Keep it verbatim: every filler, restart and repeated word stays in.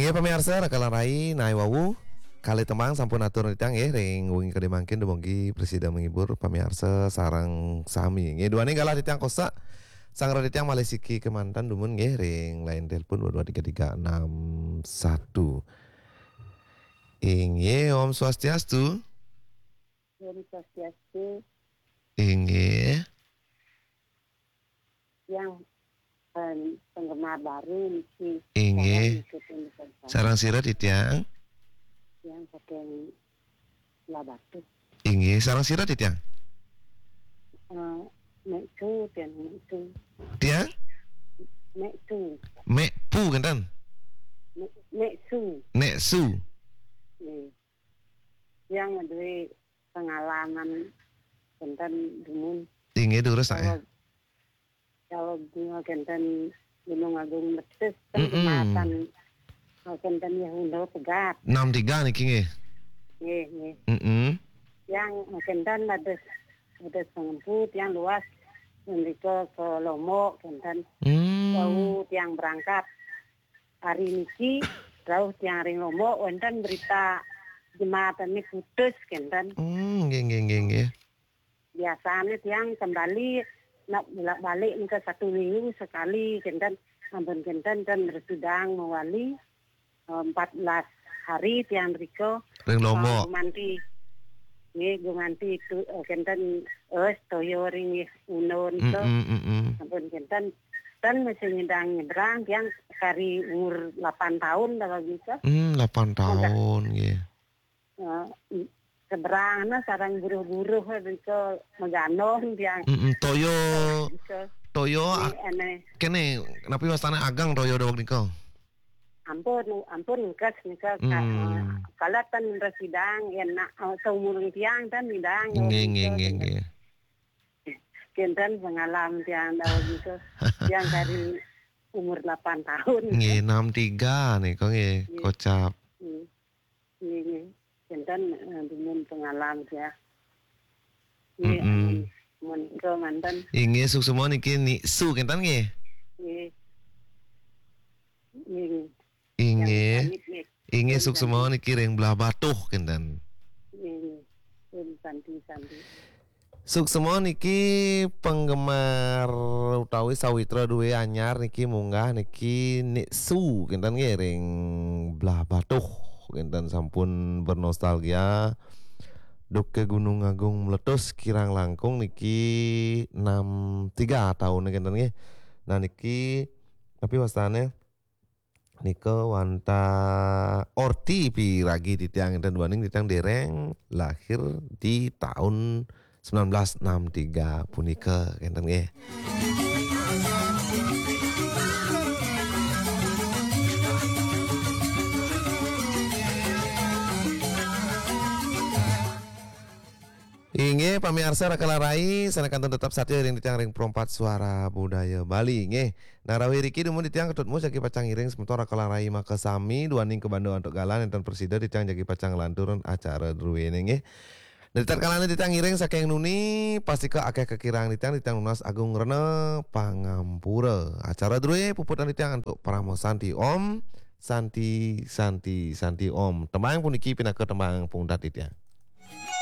Eh, pamiarsa, raka lan rai, nawi wau kalih tembang sampun atur titiang nggih ring wengi kadi mangkin, dumugi prasida menghibur pamiarsa sareng sami. Nggih, duaning galah titiang kosak. Sang raka titiang malih siki kemanten dumun nggih ring line telepon dua dua tiga tiga enam satu. Inggih, Om Swastiastu. Om Swastiastu. Inggih. Yang, em, penggemar baru niki. Inggih. Sareng ngikutin pesan. Sareng sira titiang? Yang saking Lebah Batuh. Inggih, sareng sira titiang? Eh, Mek Su, tiang Mek Su. Tiang? Mek Su. Mek Pu, kenten? Mek, Mek Su. Mek Su. Nggih. Yang duwe pengalaman kenten dumun. Inggih, durus, eh. Kalau, kalau bunga kenten Gunung Agung meletus, kan, mm-mm, jembatan, eh, kenten ya undo pegat. Enam tiga niki nggih. Nggih, nggih. Mm-mm. Yang, eh, kenten ada, ada pengempu, yang luas, mrika ke Lombok, kenten. Hmm. Wau tiang berangkat. Hari niki, rauh tiang ring Lombok, wenten berita jembatane putus, kenten. Hmm, nggih, nggih, nggih, nggih. Biasane tiang kembali nak bolak-balik nika satu minggu sekali, kenten. Ampun kenten, ten bersidang mewali, eh, empat belas hari tiang rika. Ring Lombok. Eh, gumanti. Nggih, gumanti itu, eh, kenten, eh, toya ring nggih undo nika. Mm-mm, mm-mm. Ampun kenten, ten masih nyidang nyebrang, tiang kari umur lapan tahun dah begitu. Hmm, lapan tahun, nggih. Eh, i-, seberang na sareng buruh-buruh, eh, begitu, meganong tiang. Mm-mm, toya, begitu. Toya, nggih, ak-, ene. Kene, napi wastane agang toya daweg nika? Ampun, ampun, engkes nika, ka-, hmm, eh, kala ten bersidang, ya nak, eh, seumuran tiang ten sidang, nggih, nggih, nggih, nggih. Kenten pengalam tiang daweg nika. Tiang dari umur lapan tahun. Nggih, enam tiga nika nggih, nggih, kocap. Nggih. Nggih, nggih. Kenten, eh, dumun pengalam ya. Nggih, mm-mm, amun, amun nika manten. Inggih, suksma niki Nik Su kenten nggih? Nggih. Nggih, nggih. Inggih. Yang pamit nggih. Inggih, suksma niki ring Lebah Batuh kenten. Nggih, nggih. Om Santi, Santi. Suksma niki penggemar utawi sawitra duwe anyar niki munggah niki Nik Su kenten nggih ring Lebah Batuh kenten sampun bernostalgia. Duke Gunung Agung meletus kirang langkung niki enam tiga taune kenten nggih. Nah niki tapi wastane nika wantah orti piragi titiang enten duaning titiang dereng lahir di taun sembilan belas enam tiga punika kenten nggih. Inggih, pamiarsa raka lan rai, sane kantun tetep satia ring titiang ring Pro empat Suara Budaya Bali, nggih. Nah, rauh iriki dumun titiang Ketut Mus jagi pacang ngiring semeton raka lan rai makasami, duaning kabanda antuk galah nenten prasida titiang jagi pacang nglantur acara druene, nggih. Nah, tatkala titiang ngiring saking nuni, pastika akeh kakirang titiang, titiang nunas agung rena pangampura. Acara drue puputang titiang antuk Parama Santi Om, Santi, Santi, Santi Om. Tembang puniki pinaka tembang pungtat titiang.